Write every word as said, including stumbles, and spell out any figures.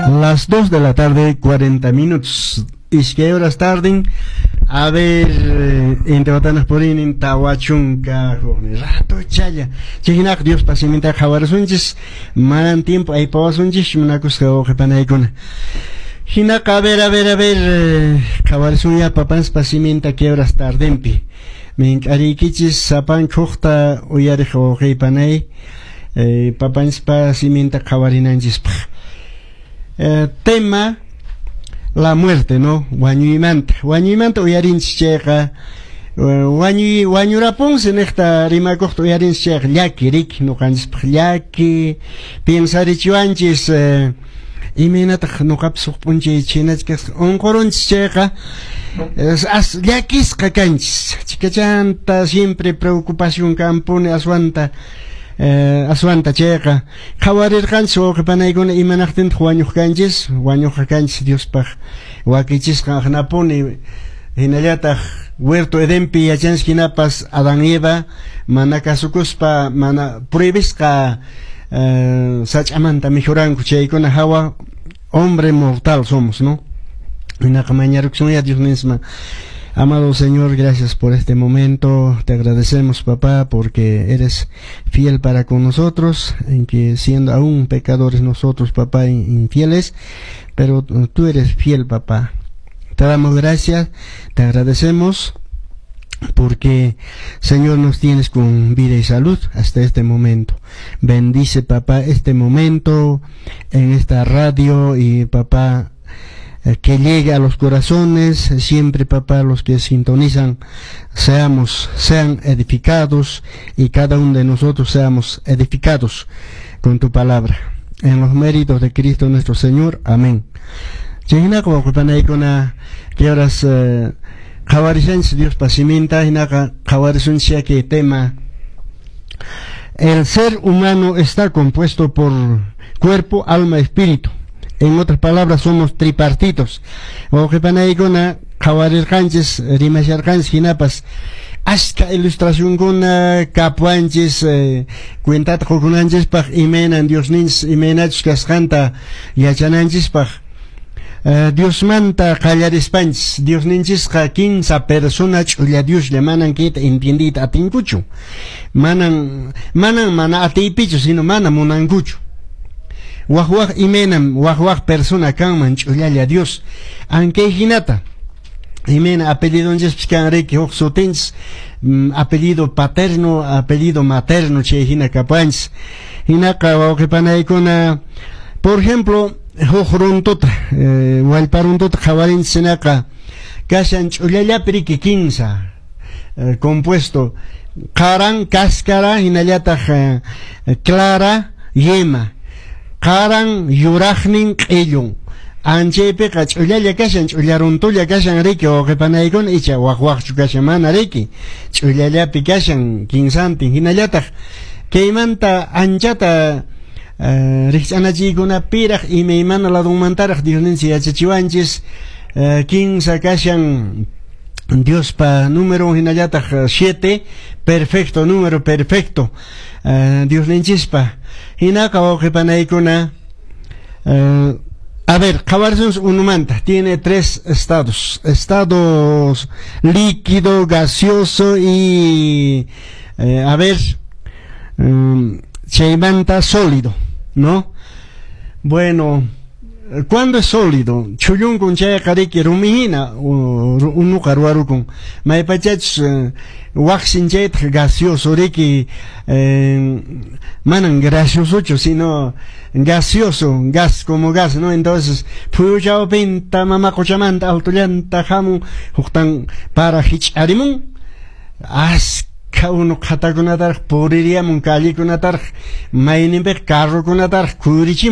Las dos de la tarde, cuarenta minutos. Iskay horas tarden. A ver, intihuatanaq puriynin tawa chunka huknin ratochalla. Chayhinaqa Diospa siminta qhawarisunchis, manan tiempo aypawasunchis, munakusqa wawqi panaykuna. Hinaqa, a ver, a ver, a ver, qhawarisunya papanchispa siminta kay horas tardenpi. Mink'ariykichis sapanka hukta uyariq wawqi panay, eh, papanchispa siminta qhawarinanchispaq. Eh, tema la muerte, ¿no? Wañuymanta. Wañuymanta uyarinchis chayqa, wañuy wañurapunsi niqta rimakuqta uyarinchis chayqa llaki riki ñuqanchispaq llaki piensarichiwanchis, eh, imaynataq ñuqapas huk p'unchay chhaynachik kasqa unqurunchis chayqa as llakisqa kanchis chikachanta siempre preocupación kanpuni aswanta, eh, aswanta chayqa qhawarirqanchis wawqi panaykuna imanaqtintaq wañuq kanchis wañuqqa kanchis Diospaq wakichisqa aqnapuni hinallataq huerto Edenpi yachanchis hinapas Adán y Eva mana kasukuspa mana prohibisqa, eh, sach'amanta mikhuranku chaykuna hawa hombre mortal somos, ¿no? Hinaqa mañarukusunya Dios misma. Amado Señor, gracias por este momento. Te agradecemos, papá, porque eres fiel para con nosotros, en que siendo aún pecadores nosotros, papá, infieles, pero tú eres fiel, papá. Te damos gracias, te agradecemos, porque, Señor, nos tienes con vida y salud hasta este momento. Bendice, papá, este momento en esta radio y, papá, que llegue a los corazones, siempre, papá, los que sintonizan, seamos, sean edificados y cada uno de nosotros seamos edificados con tu palabra. En los méritos de Cristo nuestro Señor. Amén. Chayhinaqa wawqipanaykuna kay horas qhawarishanchis Diospa siminta hinaqa qhawarisunchis kay tema. El ser humano está compuesto por cuerpo, alma, espíritu. En otras palabras, somos tripartitos. Wawqipanaykuna qhawarirqanchis rimasharqanchis hinapas ashka ilustracionkuna kapuanchis, eh, cuentata qukunanchispaq imaynan Diosninchis imaynachus kasqanta yachananchispaq. Uh, Diosmanta qallarispanchis Diosninchisqa kinsa persona ch'ulla Dioslla manan kayta entiendiyta atinkuchu manan manan mana atiypichu sino mana munankuchu waq waq imaynam waq waq persona kanman ch'ullalla Dios ankay hinata imayna apellidonchispis kan riki huk sutinchis, mm, apellido paterno, apellido materno chay hina kapuanchis hinaqa wawqipanaykuna por ejemplo huk runtuta, eh, wallpa runtuta qhawarinchis hinaqa kashan ch'ullallapi riki kinsa, eh, compuesto qaran cáscara hinallataq, eh, clara yema qaran yuraqnin q'illun anchaypiqa ch'ullalla kashan ch'ulla runtulla kashan riki wawqipanaykuna icha waq waqchu kashan mana riki ch'ullallapi kashan kinsantin hinallataq kaymanta anchata, uh, rikch'anachiykunapiraq imaymana ladunmantaraq Diosninchis yachachiwanchis, uh, kinsa kashan Diospa número hinallataq siete perfecto número perfecto, uh, Diosninchispa hinaqa wawqipanaykuna, uh, a ver, qhawarisunchis unumanta tiene tres estados, estados líquido, gaseoso y, eh, a ver, um, chaymanta sólido, ¿no? Bueno, ¿cuándo es sólido? Chullunkun chayqa riki rumihina unuqa ruwarukun maypachachus, eh, waqsin chaytaq gaseoso riki, eh, manan graciosochu sino gaseoso, gas como gas, ¿no? Entonces phuyuchawpinta mama quchamanta altullanta hamun huktan para hich'arimun askha unu qhatakunataraq puririyamun callekunataraq mayninpiqa carrokunataraq kuyurichimun.